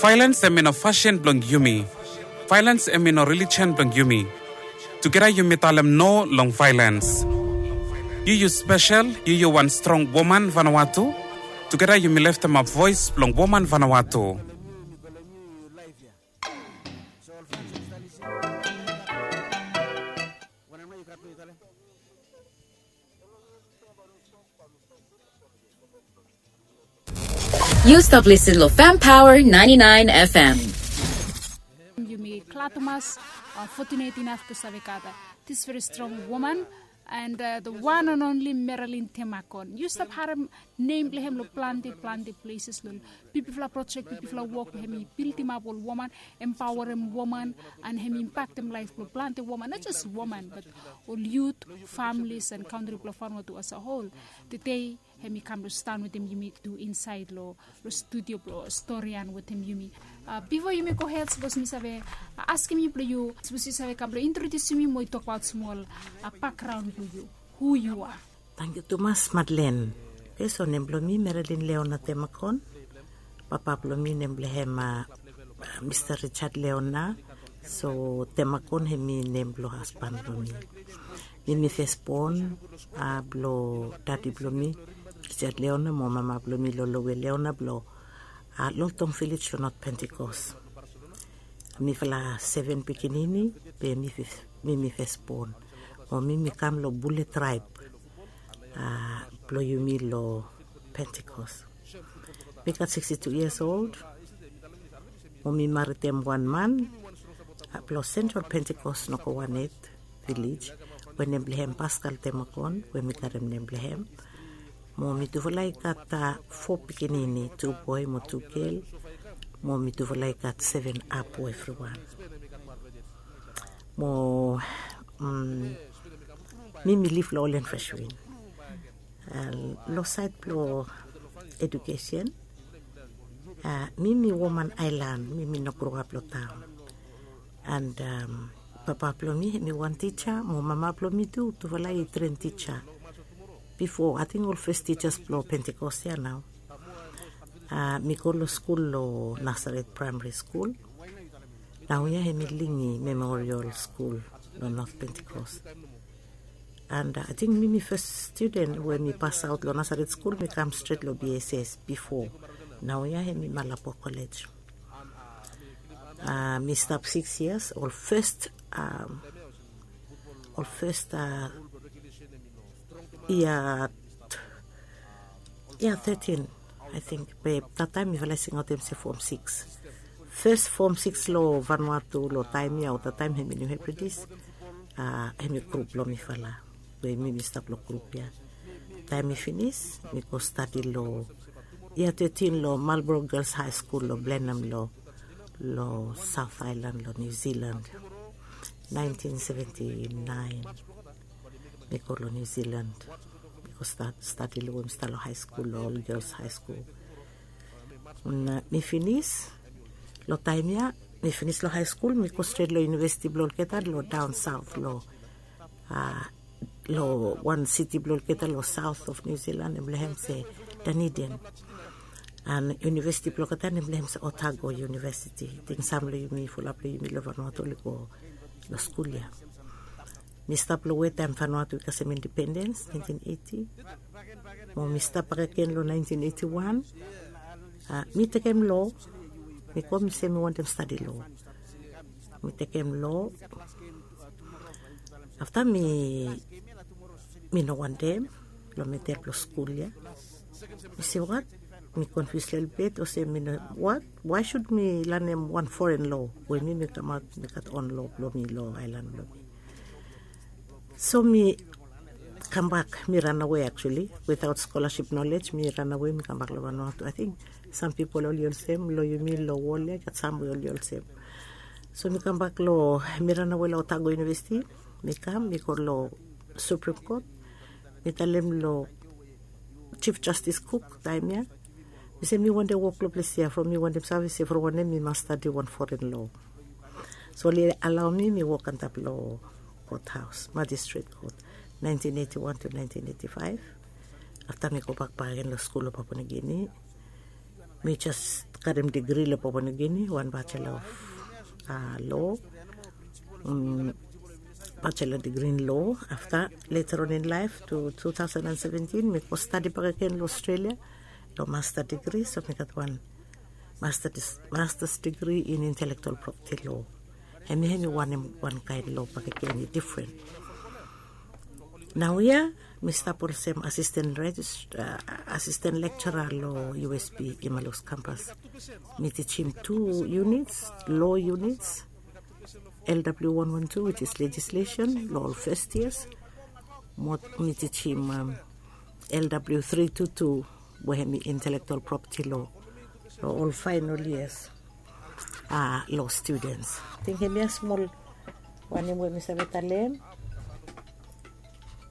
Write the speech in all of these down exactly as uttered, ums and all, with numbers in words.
Vaelens em i no fasin blong yumi. Vaelens em i no relijion blong yumi. Tugeta yumi talem no long vaelens. Yu yu spesel, yu yu wan strong woman Vanuatu. Tugeta yumi leftemap voes blong woman Vanuatu. Yu stap lisin long Fam Power ninety-nine F M. Yumi glad tumas, uh, fortunate enough to save gat, uh, this very strong woman and, uh, the one and only Marilyn Temakon. Yu stap harem nem blong hem long plante plante places, long bigfala projek, bigfala wok we hem i bildimap ol woman, empaorem woman, and hem i impaktem laef blong plante woman, not just woman but ol yut, families and kantri blong Vanuatu as a whole. Tede hem i kam long sidaon wetem yumi tu insaed long, long studio blong Storian wetem yumi. Uh, bifo yumi gohed, sapos mi save, uh, askem yu blong yu, sapos yu save kam blong introdiusim yu mo yu tokbaot smol, uh, bakgraon blong yu, hu yu a. Tangkiu tumas, Madlen. Oke, so nem blong mi Marilyn Leona Temakon. Papa blong mi nem blong hem, uh, Mista Richard Leona. So Temakon hem i nem blong hasban blong mi. Mi mi fesbon, uh, blong dadi blong mi Richard Leona mo mama blong mi Lolowe Leona blong, uh, Loltong Village long North Pentecost. Mifala seven pikinini, be mi fes-, mi mi fesbon. Mo mi mi kam long Bule traeb, uh, blong yumi long Pentecost. Mi gat sixty-two years old. Mo mi maritem wan man, uh, blong Central Pentecost Nokowanet Village, we nem blong hem Pascal Temakon, we mi karem nem blong hem. Mo mi tufala i gat, uh, fo pikinini, tu boe mo tu gel. Mo mi tufala i gat seven apu evriwan. Mo, mm, mi mi liv long Olen Freshwin. Uh, long saed blong edukesen, uh, mi mi woman aelan, mi mi no groap long taon. And, um, papa blong mi hem i wan tija, mo mama blong mi tu, tufala i tren tija. Bifo, ating ol fes tijas blong Pentecost ya nao. Uh, mi go long skul long Nazareth Primary School. Naoia hem i Lingi Memorial School long North Pentecost. And, uh, ating mi mi fes studen we mi pasaot long Nazareth School, mi kam stret long B S S bifo. Naoia hem i Malabo College. Uh, mi stap six years, ol fes, um, ol fes, uh, yia, yia thirteen, I think. Be that taem mifala i singaotem se form six. Fes form six long Vanuatu long taem ya, o that taem hem i New Hebrides, uh, hem i grup blong mifala. We mi mi stap long grup ya. Taem mi finis, mi go stadi long yia thirteen long Marlborough Girls High School long Blenheim long, long South Island long New Zealand. Nineteen seventy-nine mi go long New Zealand. Mi go stadi long, mi stap long high school, long ol girls high school. Na mi finis long taem ya, mi finis long high school, mi go stret long university blong olgeta long down south long, uh, long wan siti blong olgeta long south of New Zealand, nem blong hem se Dunedin. And university blong olgeta nem blong hem se Otago University. Ating sam long yumi, fulap long yumi long Vanuatu oli go long skul ya. Mi stap long we taem Vanuatu i kasem independens, nineteen eighty. Mo mi stap bakegen long nineteen eighty-one. Uh, mi tekem lo, mi go mi se mi wantem stadi lo. Mi tekem lo. Afta mi, mi no wantem long matter blong skul ya. Mi se, "What?" Mi confuse lelebet, olsem mi no, "What? Why should mi lanem wan foreign law we mi mi kamaot mi gat own law blong mi long aelan blong mi?" So mi kambak, mi ranawe actually, without scholarship knowledge, mi ranawe, mi kambak long Vanuatu. Ating sam pipol oli olsem, long yumi long wol ya i gat sam we oli olsem. So mi kambak long, mi ranawe long Otago University, mi kam, mi go long Supreme Court, mi talem long Chief Justice Cook taem ya, mi se mi wantem wok long ples ya, from mi wantem save se from wanem mi mas stadi wan foreign law. So oli alaoem mi wok antap long courthouse, Magistrate Court, nineteen eighty-one to nineteen eighty-five. Afta mi gobak bakegen long skul long Papua New Guinea. Mi jes Karem digri long Papua New Guinea, wan bachelor of uh, law, um, bachelor degree in law. After, later on in life, to two thousand and seventeen, mi go stadi bakegen long Australia long master degree. So mi gat wan master, master's degree in intellectual property law. Hemi hemi wanem, wan kaen law bakegen, different. Naoia mi stap olsem assistant regist, uh, assistant lecturer long U S P Imalus campus. Mi tijim tu units, law units, L W one one two, which is legislation, long ol first years. Mo mi tijim um, L W three two two, we hemi intellectual property law, long ol final years uh, law students. Ating hemia smol wanem we mi save talem.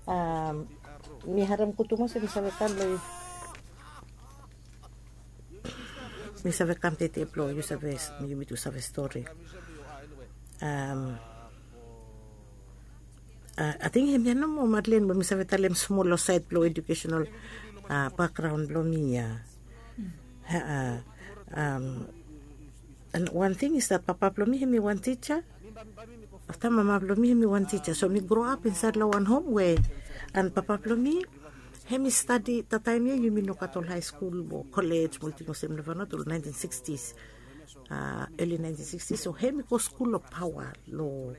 Um, mi harem kutuma se mi save talem. Mi save kam tete blo yu save, yumi tu save stori. Um, uh, ating hemia nomo, Madeleine, we mi save talem smol long saed blo educational uh, background blo mi ia. Uh, um, And one thing is that papa blo mi hemi wan tija. Afta mama blo mi hemi wan tija. So mi grow up inside long wan home we, and papa blo mi hemi stadi, that time ia yumi no gat ol high school o college, mo ting olsem long Vanuatu long nineteen sixties, uh, early nineteen sixties. So hemi go skul long Pawa, long,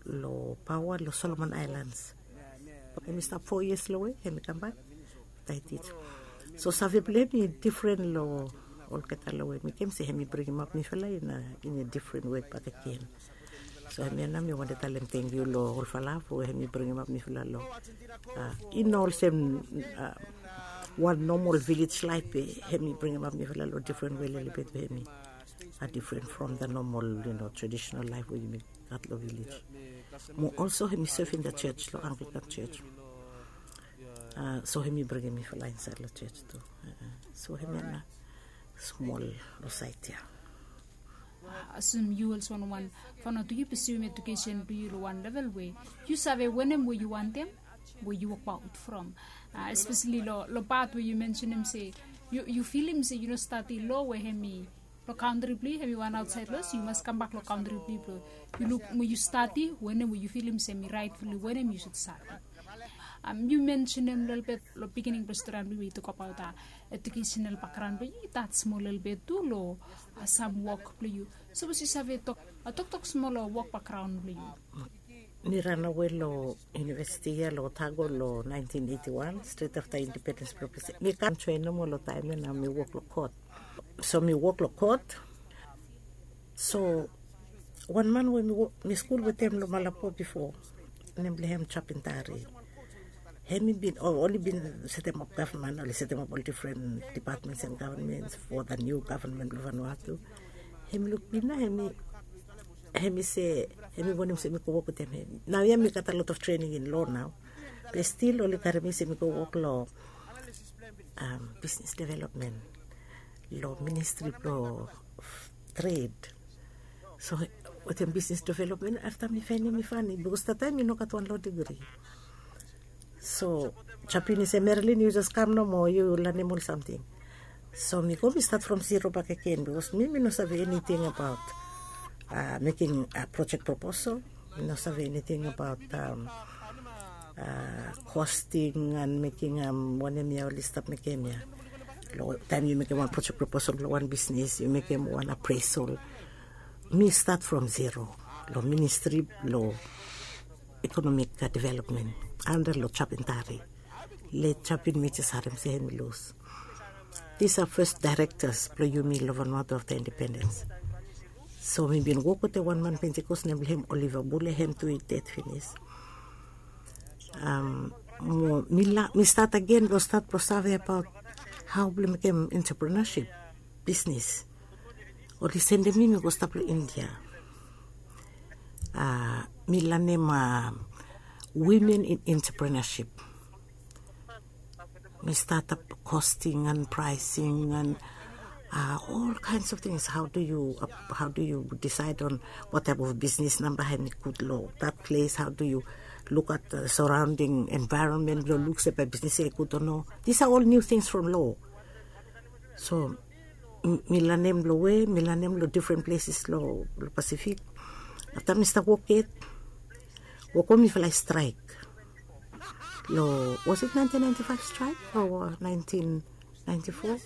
long Pawa, long Solomon Islands. Hemi stap four years long we hemi kambak. Taitit. So save blo hem i difren long olgeta long we mi kem se hemi bringim ap mifala in a, in a different way bakegen. So hemia nao mi wantem talem tangkiu long olfala we hemi bringim ap mifala long, uh, i no olsem uh, wan normal village life be hemi bringim ap mifala long different way lelebet we hemi a different from the normal, you know, traditional life we yumi gat long village. Mo also hemi serve in the church, long Anglican church. Uh, so hemi bringim mifala insaed long church tu. Uh, so hemia nao smol long saed ia. Asem yu olsem wan, wan Vanuatu, yu pursue education blo yu long wan level we yu save wanem we yu wantem, we yu wokbaot from. Uh, especially long, long pat we yu mensenem se yu, yu filim se yu no stadi law we hemi long kantri blo yu, hemi wan aotsaed law, so yu mas kambak long kantri blo yu blo yu luk mo yu stadi wanem we yu filim se hemi rightfully wanem yu sud stadi. Um, yu mensenem lelebet long beginning blo stori blo yu we yu tokbaot a educational background blo yu, i tat smol lelebet tu long, uh, sam wok blo yu. Sapos yu save tok, uh, toktok smol long wok background blo yu. Mi ranawe long university ia long Otago long nineteen eighty-one, stret afta independens blo Pasia. Mi kam joen nomo long taem ia nao mi wok long kot. So mi wok long kot. So wan man we mi wok, mi skul wetem long Malabo bifo, nem blo hem Chapintari. Hemi bin, o, oli bin setemap gavman, oli setemap ol difren departments and governments for the new government blo Vanuatu. Hemi luk mi nao, hemi, hemi se, hemi wantem se mi go wok wetem hem. Naoia mi gat a lot of training in law nao. Be stil oli karem mi se mi go wok long, um, business development, long ministry blo trade. So wetem business development, afta mi faenem i fani, bikos that taem mi no gat wan law degree. So Chapin i se, Marilyn, yu jes kam nomo, yu lanem ol samting. So mi go, mi stat from zero bakegen, bikos mi, mi no save eniting abaot, uh, mekem, uh, project proposal. Mi no save eniting abaot, um, uh, costing and mekem, um, wanem ia oli stap mekem ia. Long taem yu mekem wan project proposal blong wan bisnis, yu mekem wan appraisal. Mi stat from zero long ministri blong economic, uh, development anda long Chapintari. Late Chapin, mi jes harem se hemi lus. Disa fes daerektas blong yumi long Vanuatu afta independens. So mi bin wok wetem wan man Pentikos nem blong hem Oliva Bule, hem tu i ded finis. Um, mo mi la, mi stat agen blong stat blong save abaot hao blong mekem entrepreneurship, bisnis. Oli sendem mi, mi go stap long India. Uh, mi lanem, uh, women in entrepreneurship. Mi start up costing and pricing and, uh, all kinds of things. How do you, uh, how do you decide on what type of business namba hemi gud long that place? How do you look at the surrounding environment blong luk se bae bisnis ia i gud o no? These are all new things from law. So Mi lanem long we mi lanem long difren pleses long Pasifik. Afta mi stap wok yet, wok we mifala i straik long, was it nineteen ninety-five straik o nineteen ninety-four?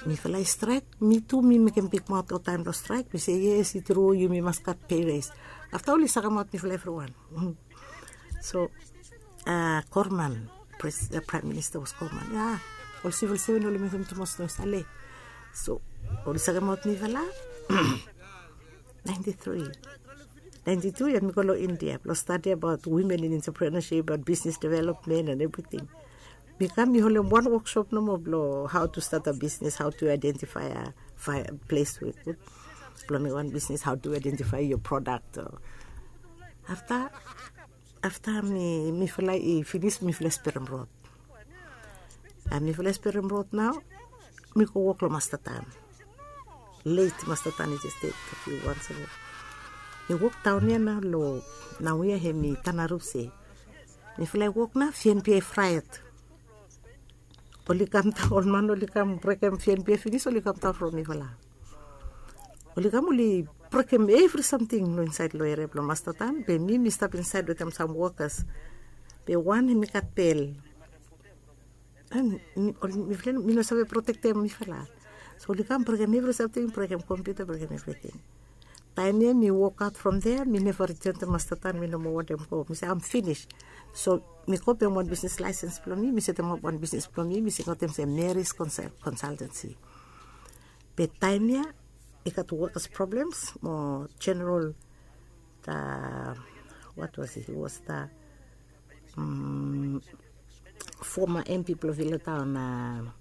Mifala i straik. Mi tu mi mekem bikmaot long taem blong straik. Mi se yes, i tru, yumi mas gat pei res. Afta oli sakemaot mifala evriwan. So Korman, Praem Minista was Korman ya. Ol sivil seven oli mekem tumas noes ale. So oli sakemaot mifala. Ninety-three, ninety-two ya mi go long India blong stadi abaot wimen in entrepreneurship, abaot bisnis development and evriting. Mi kam mi holem wan woksop nomo blong how to start a business, how to identify a ples we gud blong mekem wan bisnis, how to identify your product. Afta afta mifala i finis mifala i sperem rod. Mifala i sperem rod nao mi go wok long Mastatan. Let Mastatan i jes ded a fiu mans ago. Mi wok daon ya nao long, nao ya hem i Tanaruse. Mifala i wok nao fienpia i fraet. Oli kam daon, ol man oli kam brekem fienpia finis oli kam daon from mifala. Oli kam oli brekem evri samting long insaed long eria blong Mastatan, be mi mi stap insaed wetem sam wokas. Be wan hem i gat bel. Mi no save protektem mifala. So oli kam brekem evri samting, brekem kompiuta, brekem evriting. Taem ya mi wokaot from dea, mi neva riton tu Mastatan, mi no moa wantem go. Mi se am finis. So mi go pem wan bisnis laesens blong mi, mi setemap wan bisnis blong mi, mi singaotem se Mary's Consultancy. Be taem ya i gat wokas problems mo general, the, what was it, he was the former M P blong Vila Town,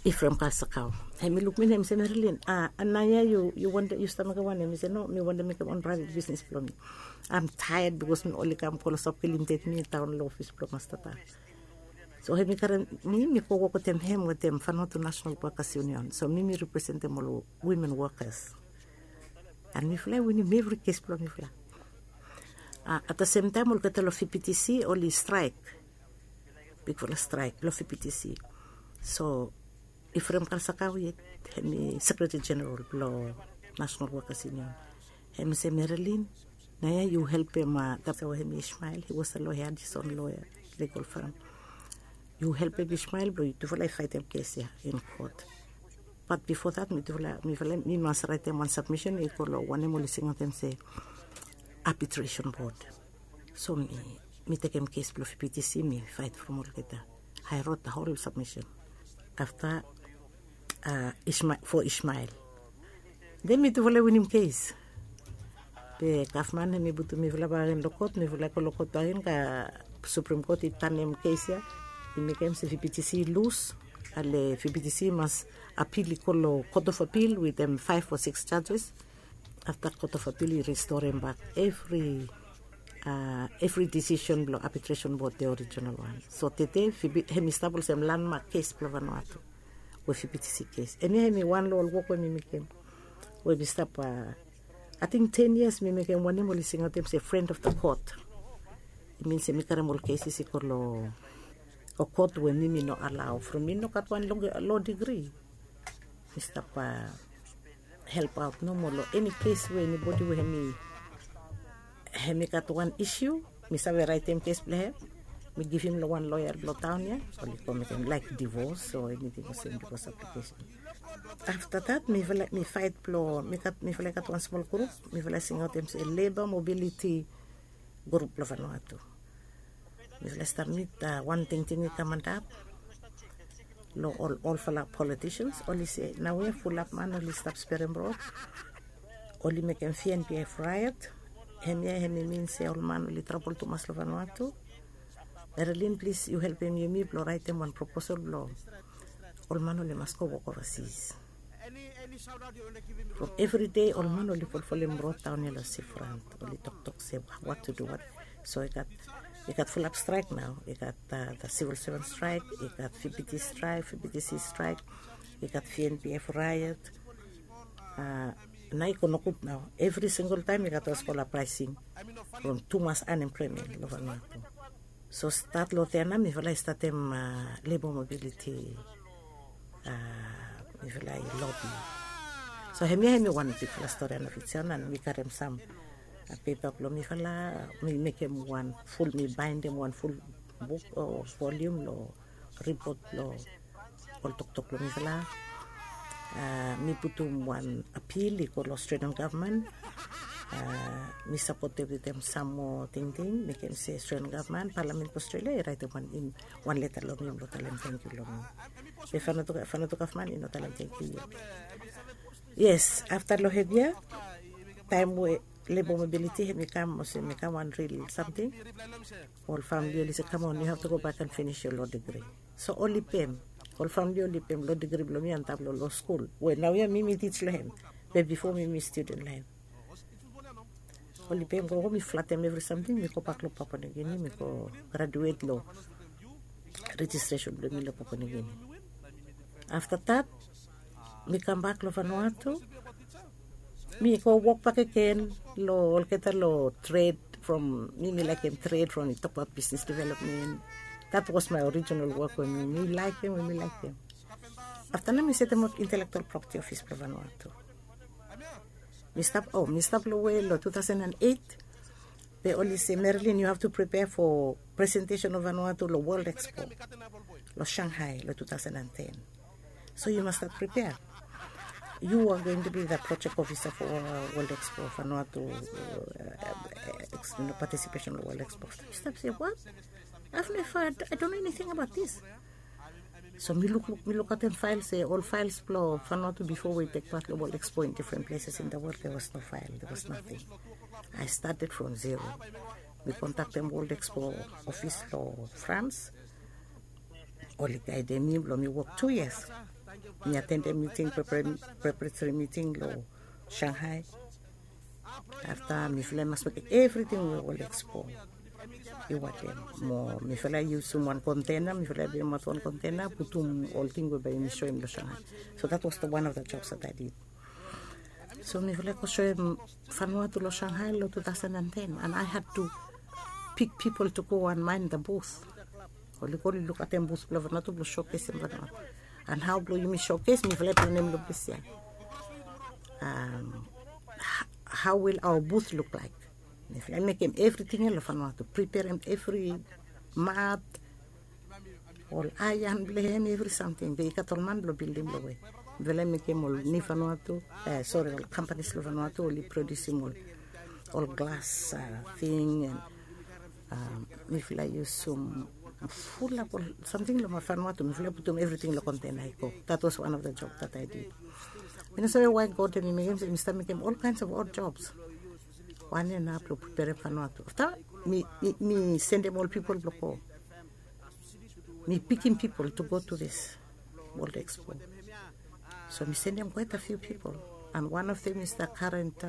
Ephraim Kalsakau. Hem i luk mi na hem i se, Marilyn, a, naoia yu wantem, yu stap mekem wanem? Mi se no, mi wantem mekem wan praevet bisnis blong mi. Am taed bikos mi oli kam go long Sopke Limited, mi daon long ofis blong Mastatan. So hem i karem mi, mi go wok wetem hem wetem Vanuatu National Workers Union. So mi mi representem ol wimen wokas. And mifala i winim evri kes blong mifala. At the same taem olgeta long V P T C oli straek. Bigfala straek long V P T C. So Ephraim Kalsakau yet, hem i Sekretari Jeneral blong National Workers Union. Hem i se, Marilyn, naoia yu helpem, a, tata we hem i Ishmael, he was a lawyer, Addison lawyer, legal firm. Yu helpem Ishmael blong yutufala i faetem kes ya in kot. Bat bifo dat, mitufala, mifala, mi mas raetem wan sabmisen i go long wanem oli singaotem se arbitration board. So mi, mi tekem kes blong V P T C, mi faet from olgeta. I wrote the whole submission. Afta, a, Ishma-, for Ishmael. Den mitufala i winim kes. Be gavman hem i putum mifala bak agen long kot, mifala i go long kot bak agen, Supreme Court i tanem kes ya. I mekem se V P T C i lus. Ale V P T C i mas apil, i go long Court of Appeal wetem faef o sikis judges. Afta Court of Appeal i ristorem bak evri, a, evri disisen blong arbitration board, the original one. So tede hem i stap olsem landmark kes blong Vanuatu we V P T C kes. Hemia hemi wan long ol wok we mi mekem we mi stap, a, ating ten yias mi mekem wanem oli singaotem se friend of the court. I min se mi karem ol keses i go long ol kot we mi mi no alao from mi no gat wan lo digri. Mi stap, a, helpaot nomo long eni kes we enibodi we hemi, hemi gat wan isiu, mi save raetem kes blong hem, mi givim long wan loea blong taon ya, oli go mekem laek divos o eniting olsem, divos aplikesen. Afta dat mifala, mi faet blong, mi gat, mifala i gat wan smol grup, mifala i singaotem se Labour Mobility Grup blong Vanuatu. Mifala i stap mit, a, wan tingting i kam antap long ol, olfala politicians, oli se naoia fulap man oli stap sperem rod, oli mekem V N P F riot. Hemia hemi min se ol man oli trabol tumas long Vanuatu. Marilyn, plis yu helpem yumi blong raetem wan proposal blong ol man oli mas go wok ovasis. From evri dei ol man oli folfolem rod daon ya long seafront, oli toktok se what to do, what. So i gat, i gat fulap straek nao, i gat, a, the civil servant strike, i gat V P T C straek, V P T C straek, i gat V N P F riot. A, nao i go nogud nao. Evri singol taem i gat olsem ol apraesing from tumas anemploemen long Vanuatu. So stat long dea nao mifala i statem, a, Labour Mobility, a, mifala i lobi. So hemia hemi wan bikfala stori ana fijia na mi karim sam pepa blong mifala, mi mekim wan ful, mi baindim wan ful buk o volium long ripot blong ol toktok blong mifala. Mi putum wan apil i go long Australian gavman. Mi sapotem wetem sam moa tingting, mekem se Australian gavman, palamen blong Australia i raitim wan leta long mi blong talem tangkiu long mi. Be Vanuatu gavman i no talem tangkiu yet. Yes, afta long hemia, taem we lebo mobiliti hemi kam olsem hemi kam wan ril samting, ol famili oli se, "Come on, you have to go back and finish your law degree." So oli pem, ol famili oli pem law degree blong mi antap long law skul we naoia mi mi tij long hem, be bifo mi mi studen long hem. Oli pem gogo, mi flatem evri samting, mi gobak long Papua New Guinea, mi go graduet long rejistresen blong mi long Papua New Guinea. Afta dat mi kambak long Vanuatu. Mi go wok bakegen long olgeta long tred from, mi mi laekem tred from i tokbaot bisnis developmen. That was my original work we mi mi laekem, we mi laekem. Afta nao mi setemap intelektual propeti ofis blong Vanuatu. Mi stap, o mi stap long we long two thousand and eight. Be oli se, "Marilyn, you have to prepare for presentation of Vanuatu long World Expo long Shanghai long two thousand and ten. So you must start prepare. You are going to be the project officer for World Expo Vanuatu, participation long World Expo." Mi stap se, "What? I've never, I don't know anything about this." So mi lukluk, mi lukaotem fael, se ol faels blong Vanuatu bifo we i tek pat long World Expo in different places in the world, there was no file, there was nothing. I started from zero. Mi kontaktem World Expo ofis long France. Oli gaedem mi blong mi wok tu yias. Mi atendem miting, preparatory miting long Shanghai. Afta mifala i mas mekem evriting we World Expo i wantem. Mo mifala i yusum wan kontena, mifala i bringim aot wan kontena, putum ol ting we bae yumi soem long Shanghai. So that was the one of the jobs that I did. So mifala i go soem Vanuatu long Shanghai long two thousand and ten, and I had to pick people to go and mind the booth. Oli go oli lukaotem booth blong Vanuatu blong showcasem Vanuatu. And hao blong yumi showcase, mifala i planem long ples ya. How will our booth look like? Mifala i mekem evriting ya long Vanuatu, preparem evri mat, ol aean blong hem, evri samting. Be i gat ol man blong bildim long we. Mifala i mekem ol ni Vanuatu, sori, ol kampanis long Vanuatu oli produsim ol, ol glas ting, and mifala i yusum fulap ol samting long Vanuatu, mifala i putum evriting long kontena i go. That was one of the job that I did. Mi no save wae God hemi mekem se mi stap mekem ol kinds of odd jobs. Wan ya nao blong preparem Vanuatu. Afta mi, mi sendem ol pipol blong go. Mi pikim pipol to go to this World Expo. So mi sendem quite a few people. And one of them is the current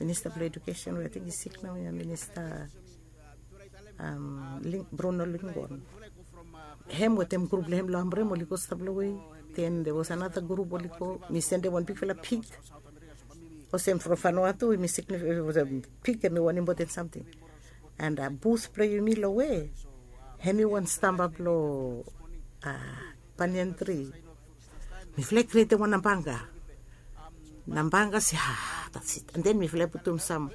Minister blong Education, we ating i sik naoia, Minista Bruno Lingon. Hem wetem grup blong hem long Amrem oli go stap long we. Then there was another grup oli go. Mi sendem wan bigfala pig olsem from Vanuatu, hemi signifai pig hemi wan impoten samting. And booth blong yumi long we, hemi wan stamba blong banyan tri. Mifala i krietem wan nambanga. Nambanga se, ah, that's it. And then mifala i putum sam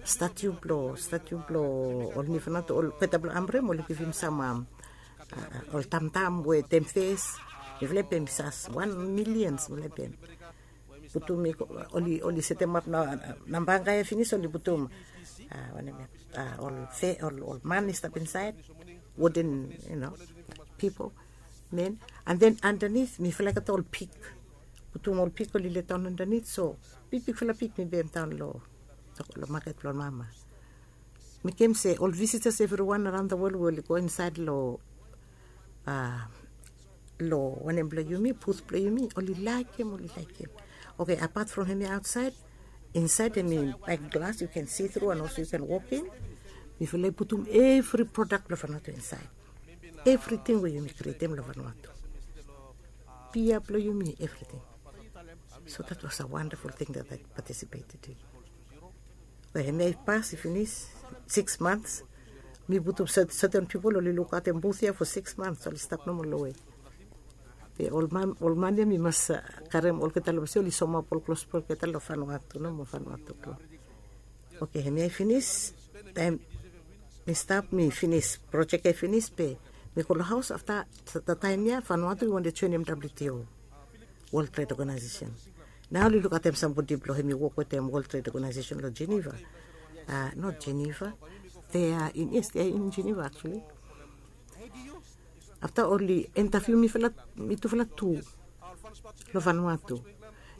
statiu blong, statiu blong ol ni Vanuatu, olgeta blong Amrem oli givim sam ol tamtam we temfes. Mifala i pem sas wan milian mifala i pem. Putum i, oli, oli setemap nambanga ya finis, oli putum wanem ya, ol fe, ol, ol man i stap insaed, wooden, you know, people, men. And then underneath mifala i gat ol pik. Putum ol pik oli letaon underneath, so bigbigfala pik mi bemdaon long, long maket blong mama. Mekem se ol visitors evriwan araon the world we oli go insaed long, long wanem blong yumi, booth blong yumi, oli laekem, oli laekem. Okay, apart from hemi aotsaed, insaed hemi bae glas, you can see through and also you can walk in. Mifala i putum evri prodak blong Vanuatu insaed. Evriting we yumi krietem long Vanuatu. Bia blong yumi, evriting. So that was a wonderful thing that I participated in. Hemia i pas, i finis six months. Mi putum certain pipol oli lukaotem booth ya for six months, oli stap nomo long we. Be ol man ol man ya mi mas karem olgeta long bese oli somap ol klos blong olgeta long fanua tu no mo fanua tu klos. Oke, hemia i finis. Taem mi stap mi finis projek ya i finis be mi go long haos afta. Taem ya fanua tu i wantem joinim wto, wol tred ogenaisesen. Nao oli lukatem sambodi blong hemi wok wetem wol tred ogenaisesen long jeneva. Not jeneva. Te a in yes te a in jeneva aksuali. Afta oli entaviu mitufala tu long fanua tu.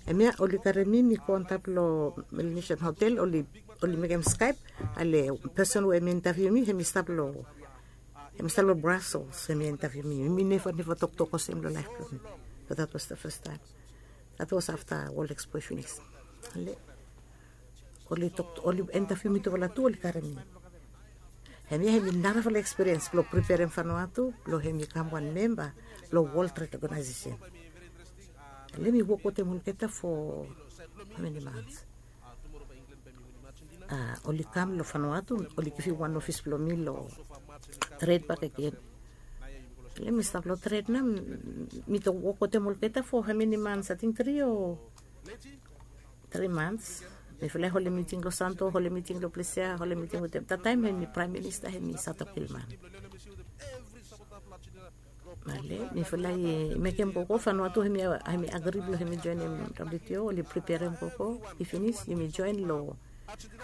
Hemia oli karim mi mi go antap long melanesian hotel oli mekim skaep. Ale pesen we hemi entaviu mi hemi stap long hemi stap long brasels hemi entaviu mi mi neva neva toktok olsem long laef blong mi. Bat dat was da fes taem. Dat was afta wol ekspo i finis. Ale oli tok oli entaviu mitufala tu oli karim mi. Hemia hemi narafala ekspiriens blong priperem fanua tu blong hemi kam wan memba blong wol tred ogenaisesen. Ale mi wok wetem olgeta fo meni mans. Oli kam long fanua tu oli givim wan ofis blong mi long tred bakegen. Ale mi stap long tred nao mi tok wok wetem olgeta fo hemeni mans ating tri o tri mans. Mifala i holem miting long santo holem miting long plesia holem miting wetem tataem hemi praem minista hemi satokilman. Ale mifala i mekem gogo fanua tu hemi agri blong hemi joenem wto oli priperem gogo i finis yumi joen long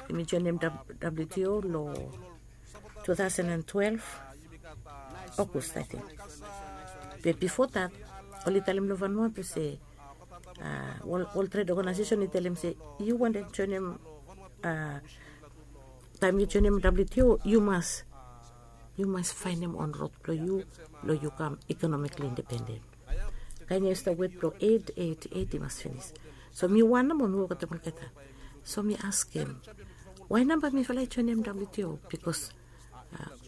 yumi joenem wto long two thousand and twelve. Ogust ating. Be bifo dat oli talem long fanua tu se wol tred ogenaisesen i talem se yu wantem joenem taem yu joenem wto yu mas yu mas faenem on rod blong yu blong yu kam ikonomikli independen. Kaen ya i stap wet blong eit eit eit i mas finis. So mi wan namo mi wok wetem olgeta. So mi askem wae namba mifala i joenem wto bikos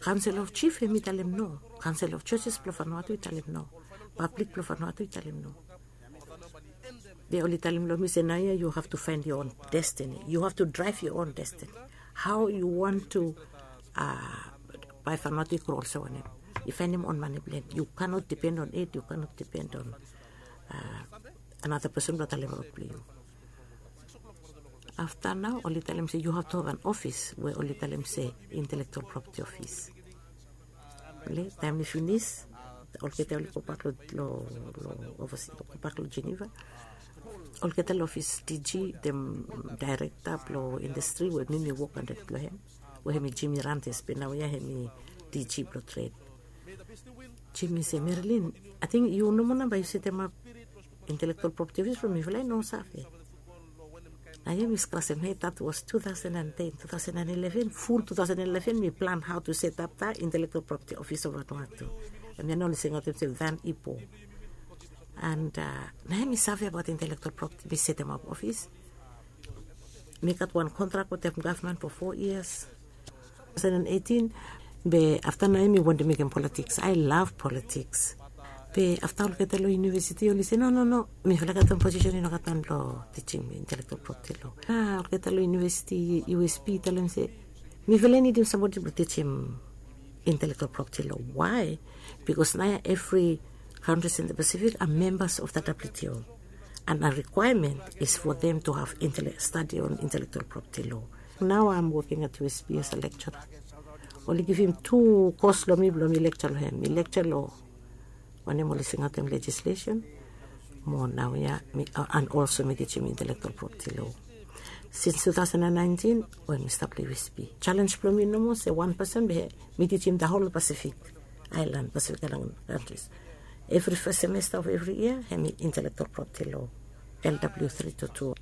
kaonsel of jif hemi talem no. Kaonsel of joses blong fanua tu i talem no. Pablik blong fanua tu i talem no. Be oli talem long mi se naoia yu have to faen yu on destini yu have to draev yu on destini. Hao yu want tu bae fanua tu i gro olsem wanem? I faenem on mane blong hem yu kanot dipen on ed yu kanot dipen on anata pesen blong talem rod blong yu. Afta nao oli talem se yu have tu have an ofis we oli talem se intelektual propeti ofis. Taem i finis olgeta oli gobak long ovasi gobak long jeneva. Olgeta long ofis diji dem daerekta blong indastri we mi mi wok antap long hem we hemi jimi rantes be naoia hemi diji blong tred. Jimi se merilin, ating yu nomo nao bae yu setemap intelektual propeti ofis blong mifala i no save. Naoia mi skrasem hed dat was two thousand and ten two thousand and eleven ful two thousand and eleven mi plan hao tu setap da intelektual propeti ofis of vanua tu. Hemia nao oli singaotem se van ipo. And naoia mi save abaot intelektual propeti mi setemap ofis. Mi gat wan kontrak wetem gavman fo fo yias. Two thousand and eighteen. Be afta naoia mi wantem mekem politiks ai lav politiks. Be afta olgeta long yunivesiti oli se no no no, mifala gat wan posisen i no gat wan blong tijim intelektual propeti lo. A olgeta long yunivesiti usp i talem se mifala i nidim sambodi blong tijim intelektual propeti lo. Wae? Bikos naoia evri kantris in da pasifik a membas of da wto. And a rikwaemen is fo them tu have stadi on intelektual propeti lo. Nao am woking at usp as a lektura. Oli givim tu kos long mi blong mi lektura long hem mi lektura long wanem oli singaotem lejislesen. Mo naoia mi an olso mi tijim intelektual propeti lo. Sins two thousand and nineteen we mi stap long usp. Jalens blong mi nomo se wan pesen be mi tijim da hol pasifik aelan pasifik aelan kantris. Evri fes semesta of evri yia hemi intelektual propeti lo. Lw three two two.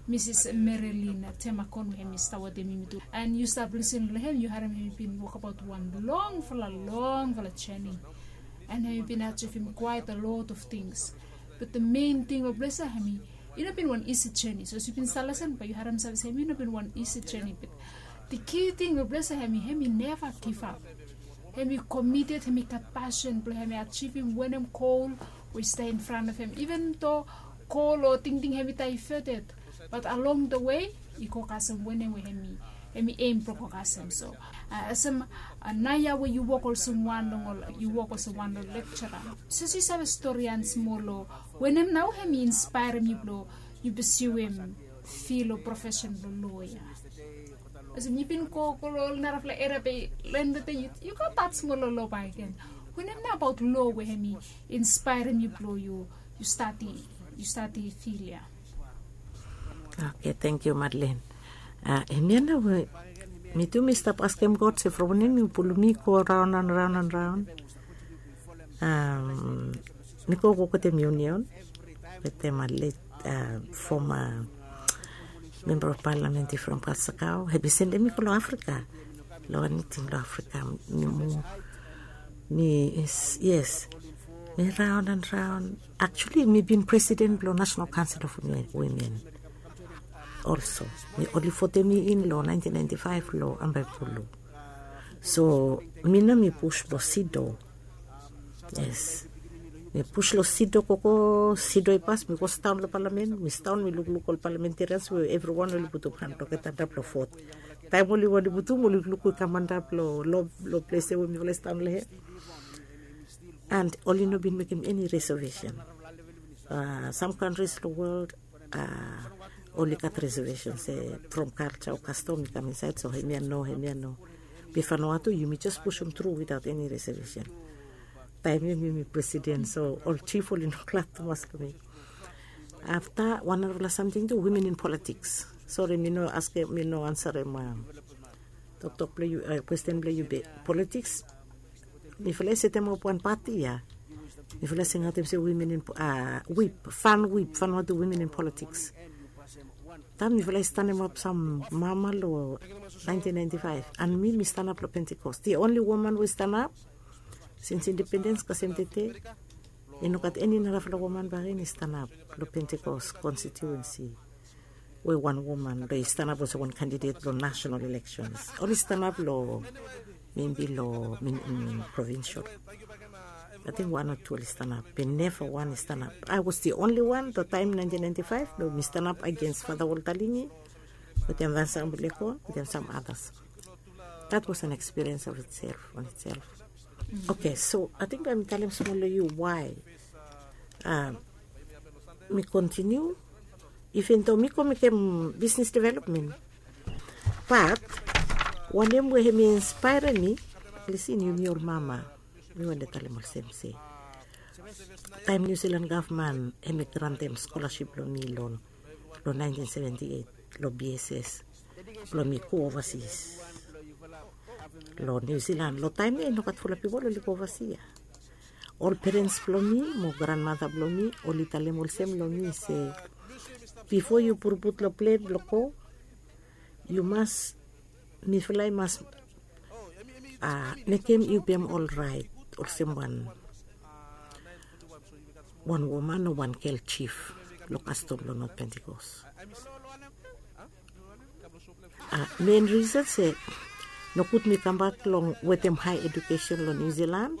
Misis Merilina Temakon we hemi stap wetem yumi tu. And yu stap lisin long hem yu harim hemi bin wokabaot wan longfala longfala jeni. And hemi bin ajivim kwaet a lot of tings. Bat da mein ting we blesa hemi i no bin wan isi jeni so as yu bin stap lisin bae yu harim save se hemi i no bin wan isi jeni bat da ki ting we blesa hemi hemi neva givap. Hemi komited hemi gat pasin blong hemi ajivim wanem gol we i stap in fran of hem iven do gol o tingting hemi daeveted. Bat along da wei i go kasem wanem we hemi Hemi aim blong go kasem so, olsem, nao ya we yu wok olsem wan long ol yu wok olsem wan long lekcara. Sapos yu save stori han smol long wanem nao hemi inspaerem yu blong yu pursuem fil o profesen blong loa ya? Olsem yu bin go go long ol narafala eria be long en blong de yu go stat smol long loa bakegen. Wanem nao abaot loa we hemi inspaerem yu blong yu stadi yu stadi fil ya? Oke, tangkiu Madlen. Hemia nao we mi tu mi stap askem God se from wanem yu pulum mi go raon an raon an raon. Mi go wok wetem union wetem a let foma memba of palamen i from Kalsakao, hemi sendem mi go long Afrika. Long wan miting long Afrika mi mu mi yes, mi raon an raon. Actually mi bin presiden blong National Council of Women. Also mi oli votem mi in long nineteen ninety-five long Ambaepulu. So mi nao mi pus blong sido. Yes, mi pus long sido gogo, sido i pas mi go sidaon long palamen. Mi sidaon mi lukluk ol palamentarians we evriwan oli putum han blong geta antap long vot. Taem oli wantem putum oli lukluk we i kam antap long long ples ya we mifala i sidaon long hem. And oli no bin mekem eni reservation. Sam kantris long wol oli gat reservation se from kalsa o kastom i kam insaed so hemia no, hemia no. Be Vanuatu yumi jes pusum tru witaot eni reservation. Taem ya mi mi presiden so ol jif oli no glad tumas long mi. Afta wan narafala samting tu, women in politiks. Sori mi no askem, mi no ansarem toktok blong yu, kwesten blong yu be politiks. Mifala i setemap wan pati ya. Mifala i singaotem se women in wip, fan wip, Vanuatu women in politiks. Taem mifala i stanemap sam mama long nineteen ninety-five an mi mi stanap long Pentecost, the only woman we i stanap since independens kasem tede. I no gat eni narafala woman bakegen i stanap long Pentecost konsitiuensi we wan woman blong i stanap olsem wan kandidet long national elections. Oli stanap long maybe long provincial. Ating wan o tu oli stanap be neva wan i stanap. I was the only one long taem nineteen ninety-five blong mi stanap agens Fata Walter Lingi wetem Vincent Ambulekon wetem sam others. That was an experience of itself on itself. Oke, so ating bae mi talem smol long yu why mi kontiniu. Iven do mi go mekem bisnis developmen, bat wanem we hemi inspaerem mi, lisin, yumi ol mama, mi wantem talem olsem se taem New Zealand gavman hemi grantem skolasip blong mi long long nineteen seventy-eight long B S S blong mi go ovasis long New Zealand. Long taem ya i no gat fulap pipol oli go ovasi ya. Ol perens blong mi mo granmata blong mi oli talem olsem long mi se bifo yu puruput long plen blong go, yu mas, mifala i mas mekem yu pem ol raet olsem wan wan woman o wan gel jif long kastom blong Not Pentikos. Men risen se nogud mi kambak long wetem hae edukesen long Niu Zilan.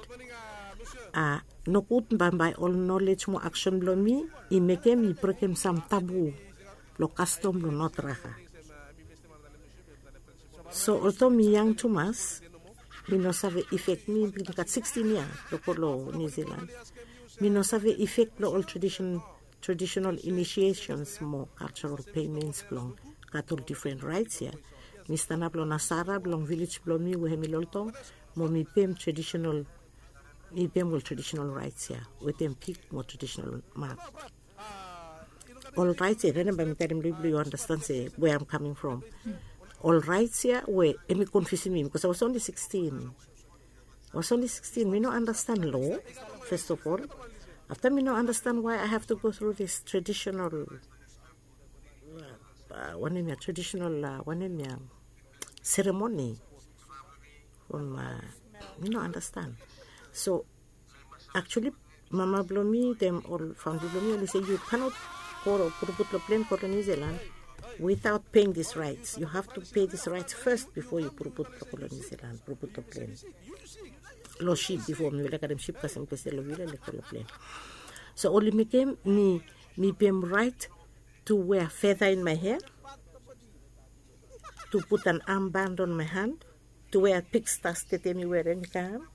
Nogud bambae ol nolej mo aksen blong mi i mekem mi brekem sam tabu long kastom blong Not Raka. So olto mi yang tumas, mi no save ifek, mi bin gat sikstin yia blong go long Niu Zilan. Mi no save ifek blong ol tradisen traditional initiations mo cultural payments blong gat ol different rights ya. Mi stanap long nasara blong vilej blong mi we hem i loltong mo mi pem traditional, mi pem ol traditional rights ya wetem pik mo traditional mak. Ol rights ya, wanem bae mi talem long yu blong yu understand se where I'm coming from. Ol rights ya we hem i konfiusim mi bikos I was only sixteen. I was only sixteen, mi no understand law, first of all. Afta mi no understand why I have to go through this traditional, wanem ya, traditional, wanem ya, ceremony. Mi no understand. So actually mama blong mi wetem ol famili blong mi oli se yu kanot go puruput long plen go long Niu Zilan without paying this rights. You have to pay this rights first before yu puruput blong go long Niu Zilan, puruput long plen. Long sip bifo mifala i karem sip kasem ples ya long vila i laik go long plen. So oli mekem mi, mi pem rait to wear feather in my hair. to put an armband on my hand, to wear pig stars tete mi werim i kam,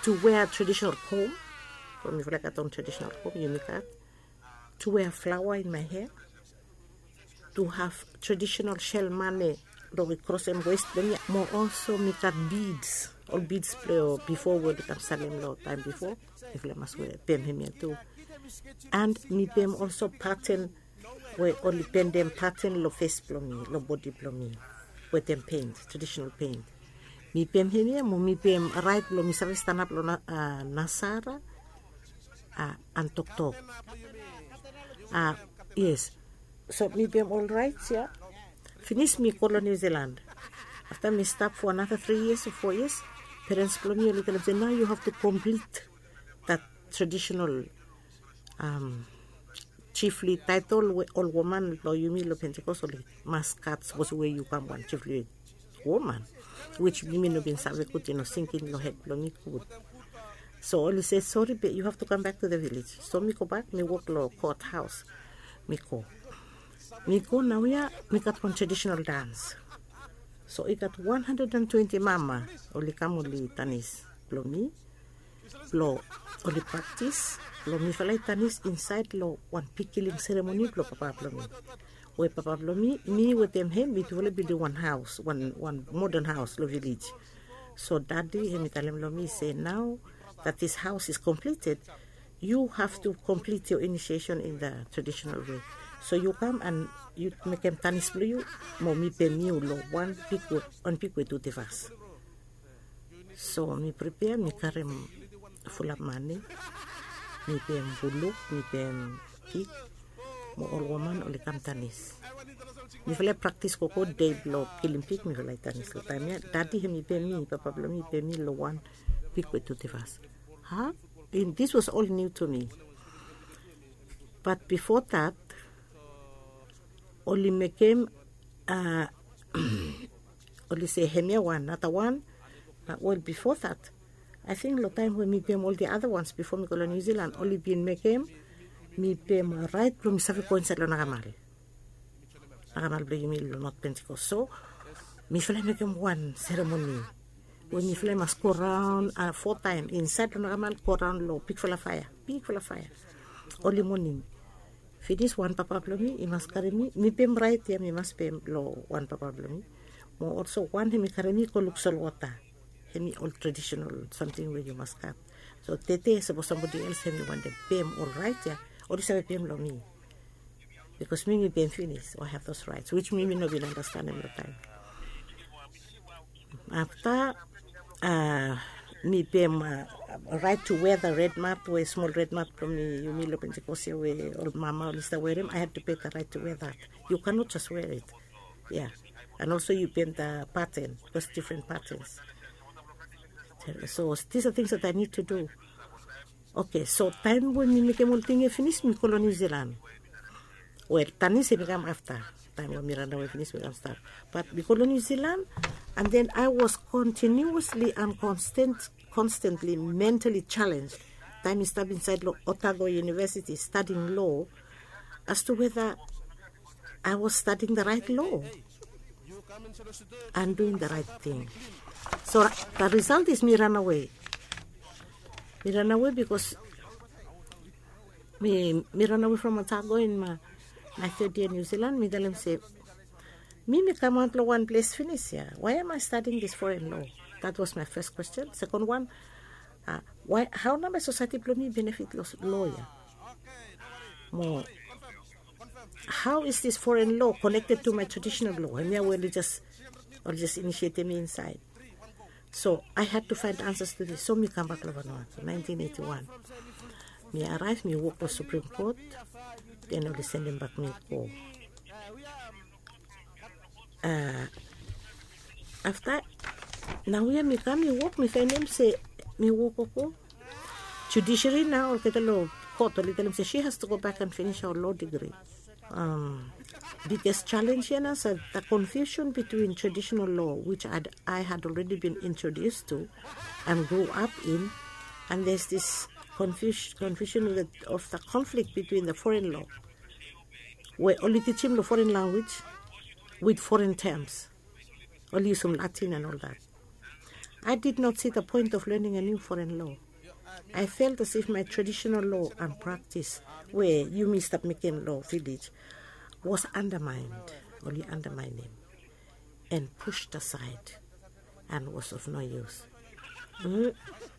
to wear traditional comb, from mifala i gat on traditional comb, yumi gat, to wear flower in my hair, to have traditional shell mane long i krosem west blong mi, mo also mi gat beads, ol beads blong bifo we oli kam salem long taem bifo, mifala i mas wear, pem hemia tu. And mi pem also pattern we oli pendem pattern long fes blong mi, long bodi blong mi, wetem paint, traditional paint. Mi pem hemia mo mi pem rait blong mi save stanap long nasara, and toktok. Yes. So mi pem ol rait ya. Finis mi go long New Zealand. Afta mi stap for another three years o four years, parents blong mi oli talem se, nao yu have to complete that traditional chiefly title we ol woman blong yumi long Pentecost oli mas gat, sapos we yu kam wan chiefly woman, which mi no bin save gud, i no sinking long hed blong mi gud. So oli se, sori, be yu have to come back to the village. So mi go bak, mi wok long court house. Mi go, mi go naoia, mi gat wan traditional dance. So i gat one hundred and twenty mama oli kam oli tanis blong mi, blong oli praktis blong mifala i tanis insaed long wan big kiling seremoni blong papa blong mi. We papa blong mi, mi wetem hem mitufala i bildim wan haos, wan wan modern haos long vilej. So dadi hem i talem long mi se, nao that this house is completed, you have to complete your initiation in the traditional way. So yu kam and yu mekem tanis blong yu, mo mi pem yu long wan big we, wan big we tu tivas. So mi pripea, mi karem fulap mane, mi pem buluk, mi pem pik, mo ol woman oli kam tanis. Mifala i praktis gogo dei blong kilim pik, mifala i tanis long taem ya. Dadi hem i pem mi, papa blong mi i pem mi long wan pik we tu tivas. Ha? This was all new to me. But before that, oli mekem, oli se hemia wan, nara wan. Wel, bifo that, ating long taem we mi pem ol the other ones bifo mi go long New Zealand, oli bin mekem mi pem rait blong mi save go insaed long nakamal, nakamal blong yumi long North Pentecost. So mifala i mekem wan seremoni we mifala i mas go raon fo taem insaed long nakamal, go raon long bigfala faea, bigfala faea. Oli moning. Finis, wan papa blong mi i mas karem mi, mi pem rait ya, mi mas pem long wan papa blong mi. Mo also wan hem i karem mi go luk solwota. Hem i ol traditional samting we yu mas gat. So tete sapos somebody else hem i wantem pem ol rait ya, oli save pem long mi. Bikos mi mi pem finis, o I have those rights, which mi mi no bin andastanem long taem. Afta mi pem rait to wear the red mat, we smol red mat blong mi, yumi long Pentecost ya we ol mama oli stap werim, I had to pay the right to wear that. You cannot just wear it. Yeah. And also yu pem the pattern, bikos different patterns. So these are things that I need to do. Oke, so taem we mi mekem ol ting ya finis, mi go long New Zealand. Wel, tanis hem i kam afta. Taem we mi ranawe finis, mi kam stap. But mi go long New Zealand, and then I was continuously and constant, constantly mentally challenged. Taem mi stap insaed long Otago University studying law, as to whether I was studying the right law and doing the right thing. So the result is mi ranawe. Mi ranawe bikos mi, mi ranawe from Otago in my, my third year New Zealand. Mi talem se, mi, mi kamaot long wan ples finis ya. Why am I studying this foreign law? That was my first question. Second one, uh, why, hao nao bae society blong mi benefit long law ya? Mo, how is this foreign law connected to my traditional law? Hemia we oli just, oli just initiatem mi insaed. So I had to find answers to this. So mi kambak long Vanuatu, nineteen eighty-one. Mi araev, mi wok long Supreme Court, then oli sendem bak mi go. Afta, naoia mi kam, mi wok, mi faenem se mi wok gogo. Judiciary nao, olgeta long court oli talem se she has to go back and finish her law degree. Biggest challenge ya nao, so the confusion between traditional law, which I'd, I had already been introduced to and grew up in, and there's this confusion, confusion of the, of the conflict between the foreign law, we oli tijim long foreign language, with foreign terms. Oli yusum Latin and all that. I did not see the point of learning a new foreign law. I felt as if my traditional law and practice, where yumi stap mekem lo village, was undermined, oli undermining, and pushed aside, and was of no use. Mm.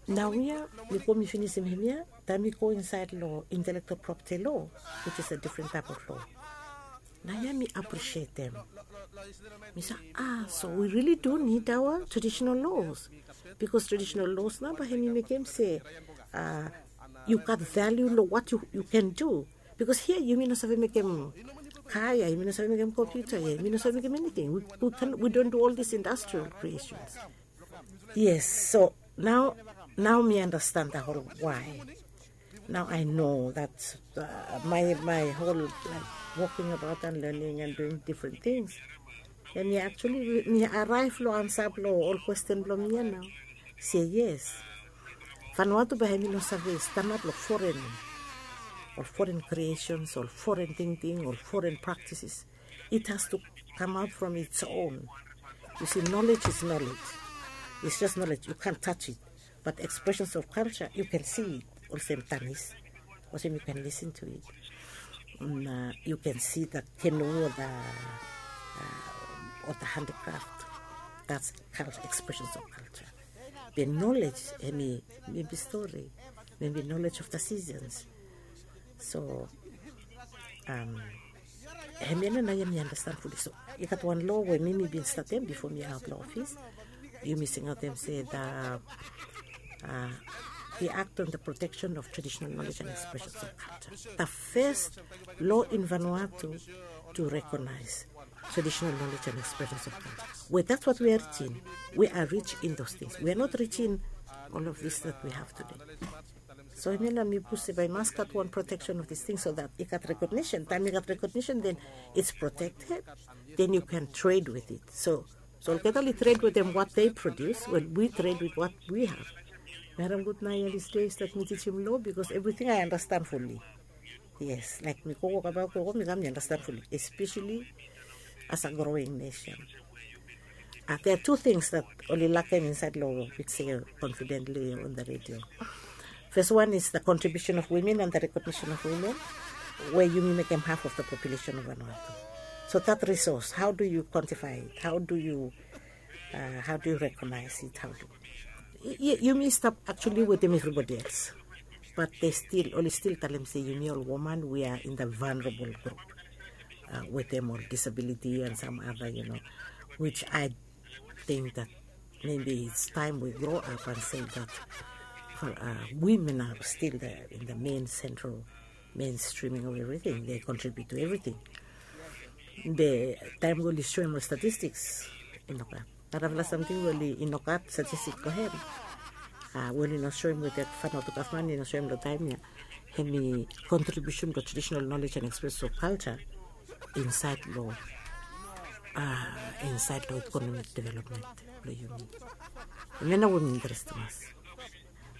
Naoia mi go mi finisim hemia, taem mi go insaed lo intellectual property law, which is a different type of law. Naoia mi aprisietem. Mi se, ah, so we really do need our traditional laws. Because traditional laws nao bae hemi mekem se, ah, yu gat value lo what you, you can do. Because hia yumi no save mekem car ya, yumi no save mekem computer ya, yumi no save mekem anything. We, we, can, we don't do all these industrial creations. Yes, so now, now mi understand the whole why. Now I know that, uh, my, my whole, like, walking about and learning and doing different things. And mi actually, mi arrive lo ansa blo ol kwesten blo mi ya nao. Se yes. Vanuatu bae hemi no save stanap lo foreign, ol foreign creations, ol foreign tingting, ol foreign practices. It has to come out from its own. You see, knowledge is knowledge. It's just knowledge. You can't touch it. But expressions of culture, you can see it. Olsem tanis. Olsem you can listen to it. Mm, uh, you can see the canoe or the, uh, or the handicraft. That's culture, expressions of culture. The knowledge, hemi, maybe story, maybe knowledge of the seasons. So, um, hemia nao ya mi understand fully. So i gat wan law we mi, mi bin statem bifo mi aot lo ofis. Yumi singaotem se the, uh, the Act on the Protection of Traditional Knowledge and Expressions of Culture. The first law in Vanuatu to recognize traditional knowledge and expressions of culture. Well, that's what we are rich in. We are rich in those things. We are not rich in all of this that we have today. So hemia nao mi push se bae i mas gat wan protection of this thing so that i gat recognition. Taem i gat recognition, then it's protected. Then you can trade with it. So, so olgeta oli trade wetem what they produce, well, we trade with what we have. Mi harem gud nao ya these days that mi tijim law because everything I understand fully. Yes, like mi go wokabaot, go, mi kam mi understand fully, especially as a growing nation. Uh, there are two things that oli lakem insaed lo we can say confidently on the radio. First one is the contribution of women and the recognition of women, where yumi mekem half of the population of Vanuatu. So that resource, how do you quantify it? How do you, uh, how do you recognize it? How do y-, y-, yumi stap actually wetem everybody else. But they still, oli still talem se yumi ol woman, we are in the vulnerable group. Uh, wetem ol disability and some other, you know, which I think that maybe it's time we grow up and say that, uh, women are still the, in the main central, mainstreaming of everything. They contribute to everything. The time we oli soem ol statistics, i nogat. Narafala samting we oli, i nogat statistik blo hem. Uh, we oli no soem wetem Vanuatu gavman, i no soem lo taem ya. Hemi contribution to traditional knowledge and expression of culture insaed lo, uh, insaed lo economic development blo yumi. Hemia nao we mi interested mas.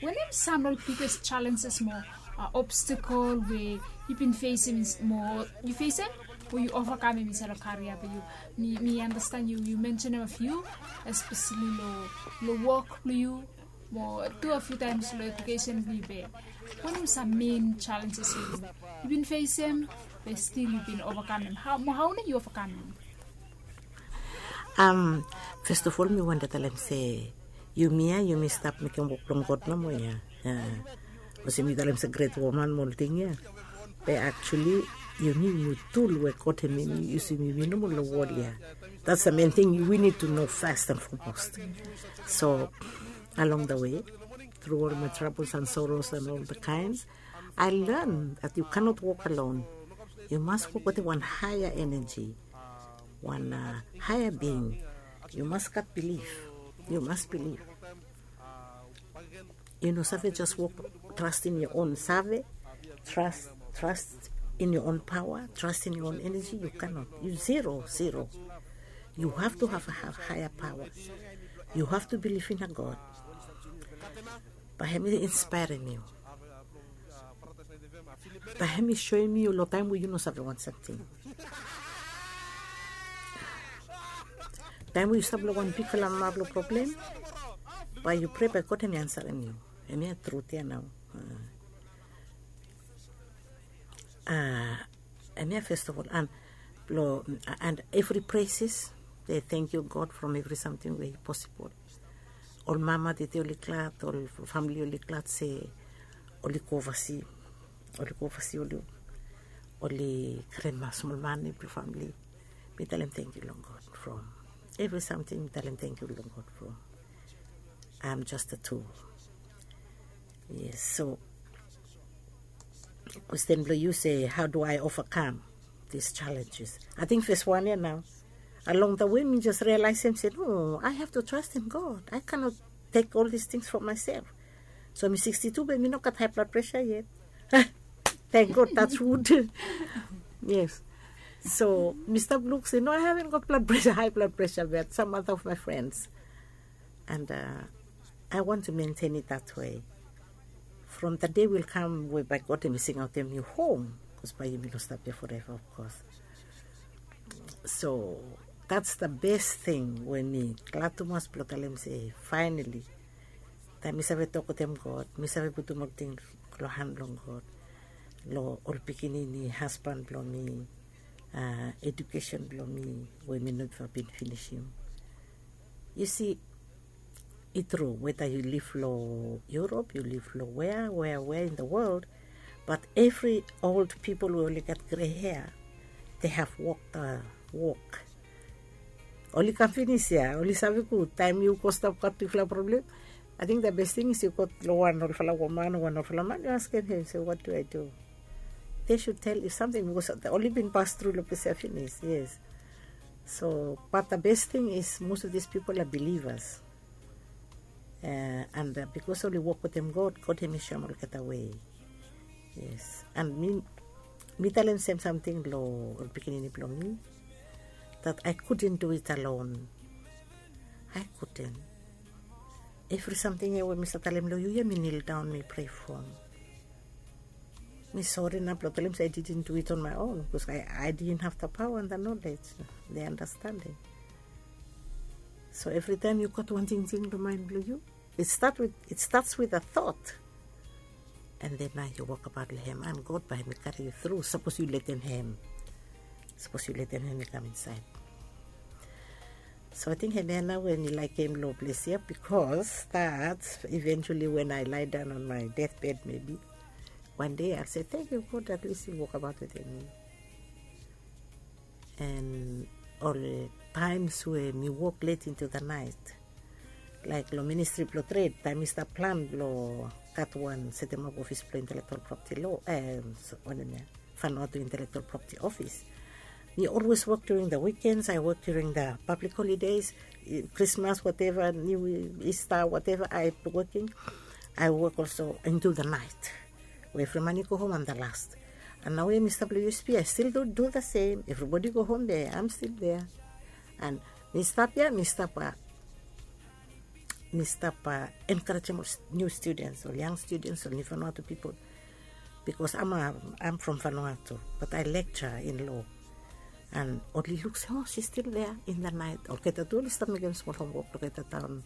Wanem sam ol biggest challenges mo, uh, obstacle we yu bin fesem, mo yu fesem we yu ovakamem insaed lo career blo yu? Mi, mi understand yu, yu mentionem a few, especially lo, lo wok blo yu, mo tu a few times lo education blo yu be. Wanem sam main challenges we yu bin fesem be still yu bin ovakamem? Hao, mo hao nao yu ovakamem? Um, first of all, mi wantem talem se yumi ya, yumi stap mekem wok blong God nomo ya. Uh, olsem mi talem se gret woman mo ol ting ya. Be actually yumi, yumi tul we God hemi yusum yumi nomo lo wol ya. That's the main thing we need to know first and foremost. So along the way, through all my troubles and sorrows and all the kinds, I learn that you cannot walk alone. Yu mas wok wetem wan higher energy, wan, uh, higher being. Yu mas gat bilif. Yu mas bilif. Yu no save just wok, trust in your own save, trust, trust in your own power, trust in your own energy. Yu cannot. Yu zero, zero. You have to have a, have higher power. You have to believe in a God. Bae hemi inspirem yu. Bae hemi soem yu lo taem we yu no save wan samting. Taem we yu stap long wan bigfala mama blong problem, bae yu prea bae God hemi ansarem yu. Hemia trut ya nao. Hemia fes of ol an blong an evri preses de tengkiu God from evri samting we i posibol. Ol mama tete oli glad, ol famili oli glad se oli go ovasi, oli go ovasi oli, oli grenma smol mane blong famili. Mi talem tengkiu long God from evri samting, mi talem tengkiu long God from. I am just a tool. Yes, so kwesten blong yu se how do I overcome these challenges? Ating fes wan ya nao. Along the way mi jes realaesem se no, I have to trust in God. I cannot take all these things for myself. So mi sixty-two be mi no gat high blood pressure yet. Thank God, that's wood. Yes. So mi stap luk se no, I haven't got blood pressure, high blood pressure, but some other of my friends. And uh, I want to maintain it that way. From the day will come whereby God hemi singaotem yu hom, bikos bae yumi no stap ya forever, of course. So that's the best thing we mi glad tumas blong talem se finally, taem mi save tok wetem God, mi save putum olting long han blong God, long ol pikinini, hasban blong mi, uh, edukesen blong mi we mi no bin finisim. Yu si, i tru, weda yu liv long Europe, yu liv long wea wea wea in the world, but evri old pipol we oli gat gre hea, they have walk the walk. Oli kam finis ya, oli save gud. Taem yu go stap gat bigfala problem, ating the best thing is yu go long wan olfala woman o wan olfala man, yu askem hem se what do I do? They should tell you something, bikos oli bin pas tru long ples ya finis. Yes. So but the best thing is most of these people are believers. Uh, and uh, bikos oli wok wetem God, God hemi soem olgeta wei. Yes. And mi, mi talem sem samting long ol pikinini blong mi, that I couldn't do it alone. I couldn't. Evri samting ya we mi sa talem long yu ya, mi kneel down, mi prea from. Mi sori nao blong talem se I didn't do it on my own, bikos I, I didn't have the power and the knowledge, the understanding. So evri taem yu gat wan tingting long maen blong yu, it start with, it starts with a thought. And then nao yu wokabaot long hem, and God bae hemi karem yu tru sapos yu letem hem. Sapos yu letem hem i kam insaed. So ating hemia nao we mi laekem long ples ya, bikos that eventually when I lie down on my deathbed maybe, one day I'll say thank you God, at least yu wokabaot wetem mi. And ol times we mi wok late into the night, laek long ministri blong tred, taem mi stap plan blong gat wan setemap ofis blong intellectual property law, wanem ya, Vanuatu Intellectual Property Office. Mi always work during the weekends, I work during the public holidays, Christmas, whatever, New Easter, whatever I working, I work also into the night. We evri man i go hom, am the last. And nao we mi stap long U S P, I still do, do the same. Evribodi go hom, be am still there. And mi stap ya, mi stap, uh, mi stap, uh, enkarejem ol niu students, ol yang students, ol niu Vanuatu pipol. Bikos am, am from Vanuatu, but I lecture in law. And oli luk se, oh, she's still there in the night. Olgeta tu oli stap mekem smol homwok long olgeta taon.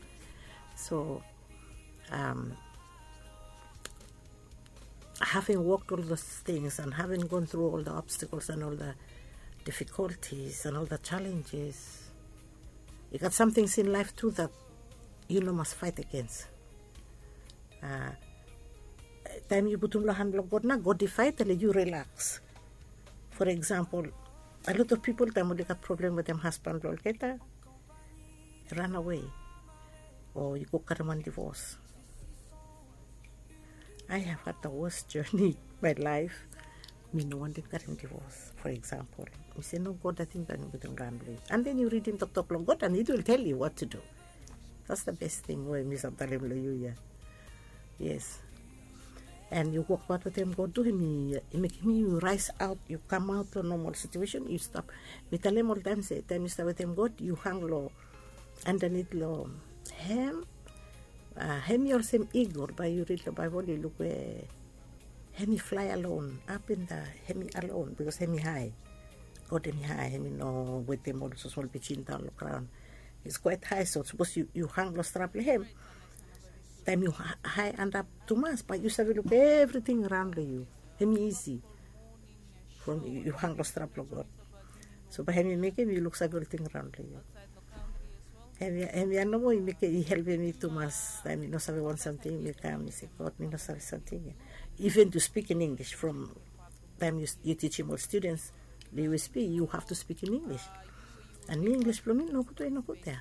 So, um, having walked all those things and having gone through all the obstacles and all the difficulties and all the challenges, i gat samting in life tu that yu no mas faet agens. Uh, taem yu putum long han blong God nao, God i faet, le yu rilaks. For example, a lot of pipol taem oli gat problem wetem hasban blong olgeta, ranawe o yu go karem wan divos. I have had the worst journey in my life. Mi no wantem karem divos, for example. Mi se no, God, ating bae mi putum long han blong yu. And then yu ridim toktok blong God and it will tell you what to do. That's the best thing we mi save talem long yu ya. Yes. And yu wokbaot wetem God tu, hemi mekem yu rise out, yu kamaot long nomal situation, yu stap. Mi talem oltaem se taem yu stap wetem God, yu hang long andanit long hem. Uh, hemi olsem eagle, bae yu rid long Baebol yu luk we hemi flae alon, ap in the, hemi alon, bikos hemi hae. God hemi hae, hemi no wetem ol smosmol pijin daon long graon. It's quite high, so sapos yu hang long strap long hem, taem yu hae antap tumas, bae yu save luk evriting raon long yu. Hem i isi from yu hang long strap long God. So bae hem i mekem yu luksave olting raon long yu. Hem ya nomo i helpem mi tumas taem mi no save wan samting, mi kam mi se, God, mi no save samting ya. Even to speak in English from taem yu tijim ol students long U S P, yu have to speak in English. And mi English blong mi nogud we nogud ya.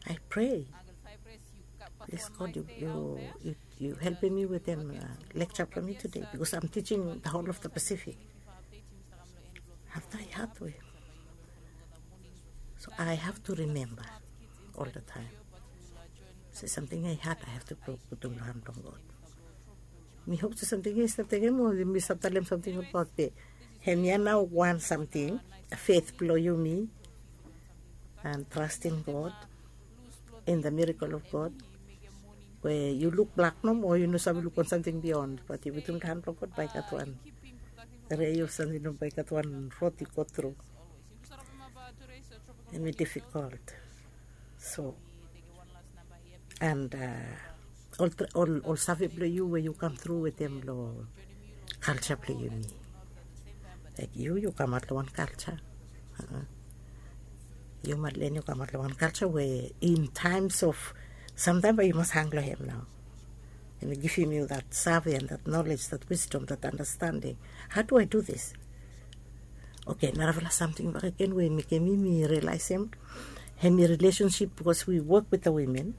I pray, plis God, yu helpem mi wetem lecture blong mi tude, because I'm teaching the whole of the Pacific. Afta i hat we, so I have to remember all the time se samting ya i hat, I have to putum long han blong God. Mi hop se samting ya i stap tekem, o mi stap talem samting abaot be hem ya nao wan samting, faith blong yumi and trusting God in the miracle of God, we yu luk blak nomo, yu no save luk wan samting beyond, bat yu putum long han blong God, bae i gat wan rei of samting nomo, bae i gat wan rod i go tru. Hem i difikol. So and ol save blong yu we yu kam tru wetem long kalja blong yumi. Laik yu yu kamaot long wan kalja. Yu Madeleine yu kamaot long wan kalja we in times of, samtaem bae yu mas hang long hem nao. Hem i givim yu that save and that knowledge, that wisdom, that understanding. How do I do this? Oke, narafala samting bakegen we i mekem mi mi realaesem, hem i relationship, because we work with the women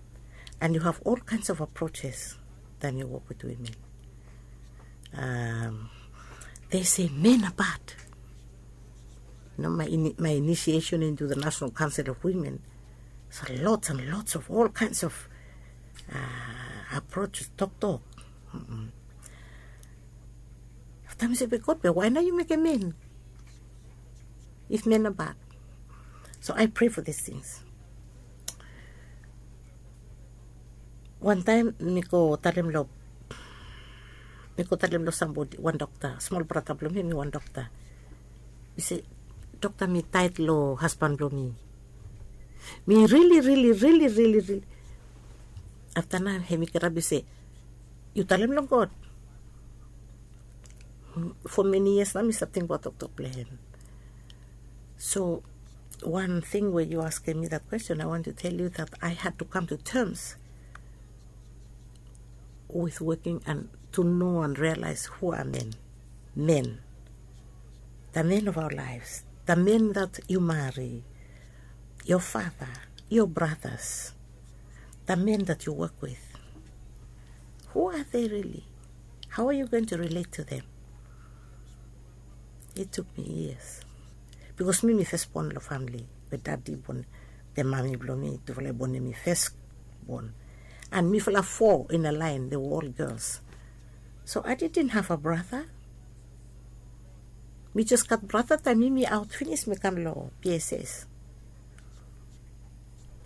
and you have all kinds of approaches taem yu work with women. They say men are bad. You know, my, ini- my initiation into the National Council of Women, so lots and lots of all kinds of uh, approaches, toktok. Afta mi se, be God, be wae nao yu mekem men if men are bad? So I pray for these things. Wan taem mi go talem long mi go talem long sambodi, wan dokta, smol brata blong mi, mi wan dokta. Mi se, dokta, mi taet long hasban blong mi. Mi rili rili rili rili rili. Afta nao hem i kirap i se, yu talem long God. Fo meni yias nao mi stap tingbaot toktok blong hem. So wan ting we yu askem mi that question, I want to tell you that I had to come to terms with working and to know and realize who are men. Men. The men of our lives. The men that you marry. Your father. Your brothers. The men that you work with. Who are they really? How are you going to relate to them? It took me years. Because mi mi first born long family. We dadi born, the mami blong mi, tufala i bonem mi first born. And mifala four in a line, they were all girls. So I didn't have a brother. Mi just gat brata taem mi mi aot finis, mi kam long P S S.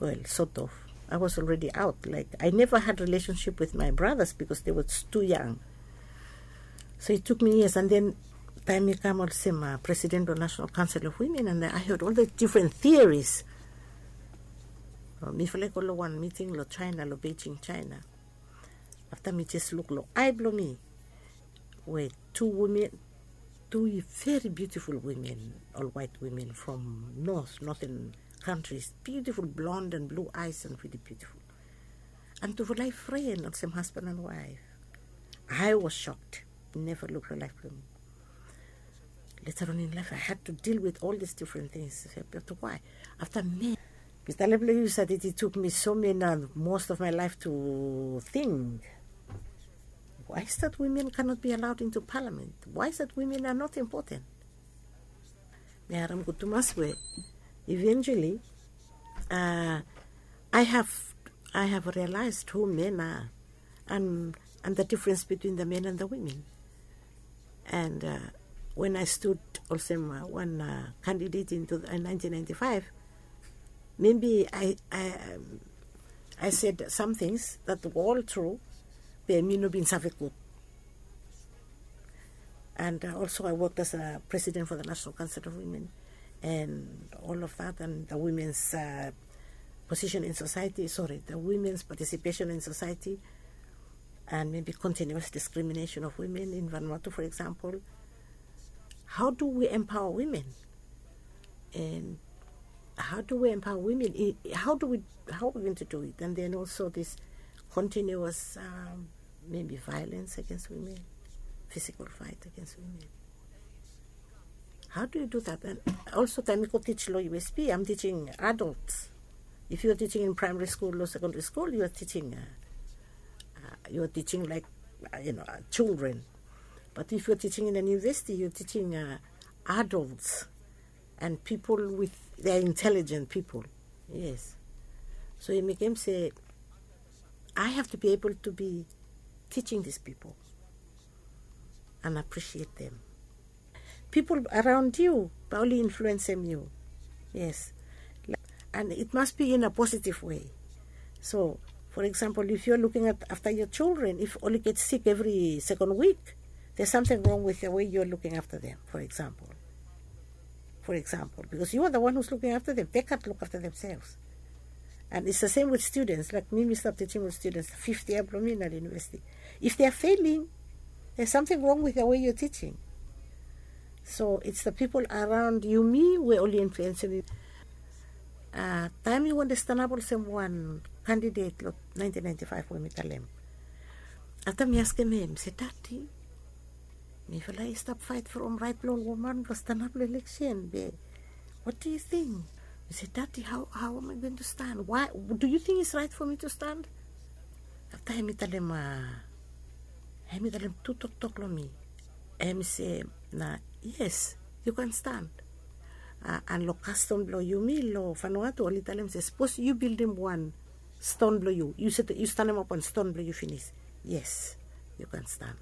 Well, sort of. I was already out. Like, I never had relationship with my brothers because they were too young. So it took me years, and then taem mi kam olsem president blong National Council of Women, and I heard all the different theories. Mifala i go long wan miting long China, long Beijing, China. Afta mi jes luk long ae blong mi, we tu women, tu very beautiful women, ol waet women from north, northern countries, beautiful blonde and blue eyes and really beautiful. And tufala i fren olsem husband and wife. I was shocked. Never luk long laef blong mi. Later on in life I had to deal with all these different things. But why? Afta men, mi talem long yu, sat, it took me so many, most of my life to think, why is that women cannot be allowed into parliament? Why is that women are not important? Mi harem gud tumas we eventually uh, I have I have realized who men are and and the difference between the men and the women. And uh, when I stood olsem uh, one uh, candidate in two- uh, nineteen ninety-five, maybe I I, um, I said some things that were all true, but mi no bin save gud. And uh, also I worked as a president for the National Council of Women and all of that, and the women's uh, position in society, sorry, the women's participation in society, and maybe continuous discrimination of women in Vanuatu, for example. How do we empower women? And how do we empower women? I- How do we how are we going to do it? And then also this continuous um, maybe violence against women, physical fight against women. How do you do that? And also, taem mi go teach lo U S P, I'm teaching adults. If you're teaching in primary school or secondary school, you're teaching, uh, uh, you're teaching like, uh, you know, uh, children. But if you're teaching in an university, you're teaching uh, adults and people with, they're intelligent people. Yes. So hemi mekem se I have to be able to be teaching these people and appreciate them. People around you bae oli influensem yu. Yes. And it must be in a positive way. So, for example, if you're looking at after your children, if oli get sick every second week, there's something wrong with the way you're looking after them, for example. For example, because you are the one who's looking after them, they can't look after themselves. And it's the same with students. Like mi, mi stap teaching with students, fifth year blo mi na university. If they are failing, there's something wrong with the way you're teaching. So it's the people around you, me, we oli influensem yu. Uh, taem mi wantem stanap olsem wan candidate lo nineteen ninety-five we mi talem. Afta mi askem hem, mi se, "Daddy, mifala i stap fight from right blo ol woman blo stanap lo election, be what do you think?" Mi se, "Daddy, how, how am I going to stand? Why, do you think it's right for me to stand?" Afta hemi talem, uh, hemi talem tu toktok lo mi. Hemi se, "Na, yes, you can stand." Uh, and lo kastom blo yumi lo Vanuatu, oli talem se, "Suppose you buildim wan stone blo yu, you set, you stanemap wan stone blo yu finis. Yes, you can stand."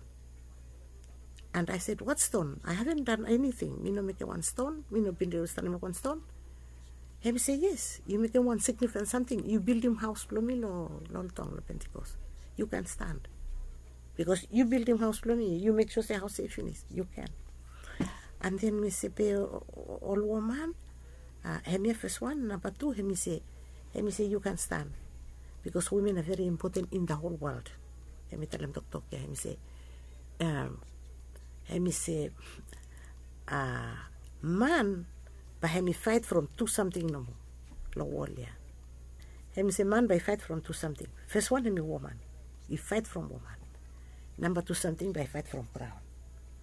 And I said, "What stone? I haven't done anything. Mi no mekem wan stone, mi no bin stanemap wan stone." Hemi se, "Yes, yu mekem wan significant samting. Yu buildim haos blo mi lo, lo ol taon lo Pentecost. You can stand. Because yu buildim haos blo mi, yu mek sua se haos ya i finis. You can." And then mi se, "Be o-, o-, ol woman?" Uh, hemia fes wan, namba tu, hemi se, hemi se, "You can stand. Because women are very important in the whole world." Hemi talem toktok ya, hemi se, um, hemi se, uh, man bae hemi fight from tu samting nomo lo wol ya. Hemi se man bae i fight from tu samting. Fes wan hemi woman. I fight from woman. Namba tu samting bae i fight from graon.